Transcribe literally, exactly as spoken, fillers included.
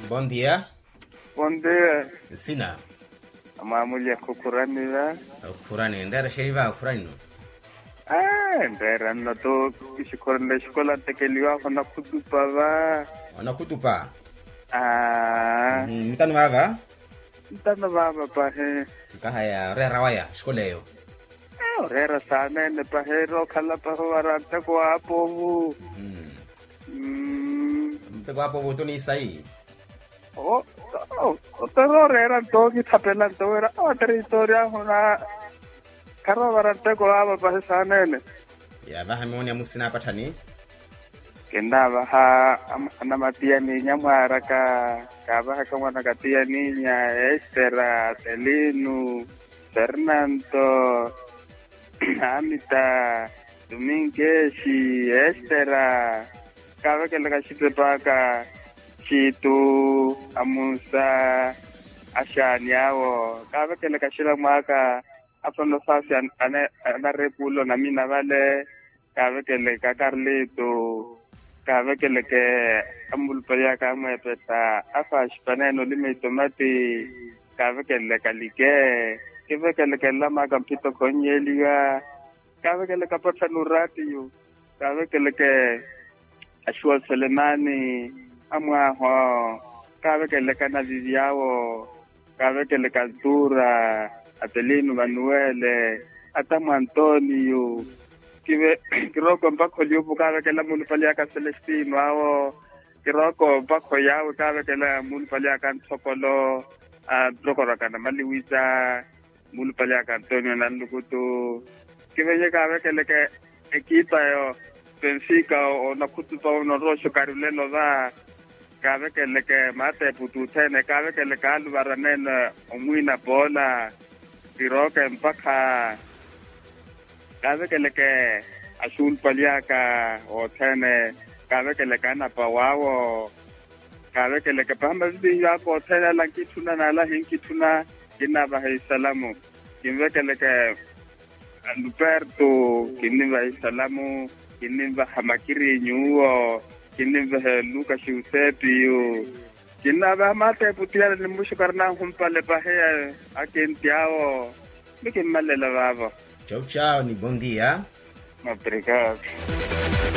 Bon dia. Bon dia. Nsina? Amwamulya khukhurani va. Okhurani nreera xeriva okhurani no? Nreera nno to. Ixikhoronela exikola ntekeliwahu onakhutupa va. Onakhutupa? Aa. Ntano vaava? Ntano vaava pahi. Nkahaya oreera waya exikola eyo? Oreera saaneene pahi rookhala pahi ovara nteko wa apovu. Nteko wa apovu oto ni sayi? Otere oreera nto okithapela nto wira otere histori ahuna. Kharoovara nteko vaava pahi saaneene. Yaavaha miwoni ya musina apatthani. Kinnaavaha anamatiyaninya mwaaraka. Kaavahaka mwanaka tiyaninya, estera, telinu, fernanto, amita, tuminkexi, estera. Kaavekelaka axitep'aka, xitu, amunsa, axaani awo. Kaavekelaka axila mwaka. Afono saasi anarepulo namina vale. Kaavekeleke akarlito. Kaavekeleke amulupali aka amweepetta afaaxipaneene olima itomati. Kaavekeleke alike. Kivekeleke nlama aka mphito khonnyeliwa. Kaavekeleke apatthani oraatiyo. Kaavekeleke axuwa selemani, amwaaho. Kaavekeleke anavivi awo. Kaavekeleke antuura, atelinu vanuwele, atamu antoniyu. Kirooko mpakha oliupu kaavekela muulupali aka selestino awo. Kirooko mpakha oyaawe kaavekela muulupali aka anthokolo, anrokorwaka namaliwisa. Muulupali aka antonio nanlukutu. Kivenye kaavekeleke ekipa yo, penfika onakhutupa uno roxo karilelo va. Kaavekeleke maateeputi othene kaavekeleke aluvaranene, omwiina poola. Kirooke mpakha kaavekeleke axuulupali aka othene. Kaavekeleke anapa waawo. Kaavekeleke pahi mavivinyu aka othene ala nkitthuna n'ala hinkitthuna. Kinnaavaha isalamu. Kinvekeleke luperto. Kinnivaha isalamu. Kinnivaha makirinyu uwo. Kinnivaha luka xiusepiyu. Kinnaavaha maateeputi yale ni mmuxukari nanhumpale pahi. Akenti awo. Ni kimmalela vaavo. Tchau tchau ni bon dia. Obrigado.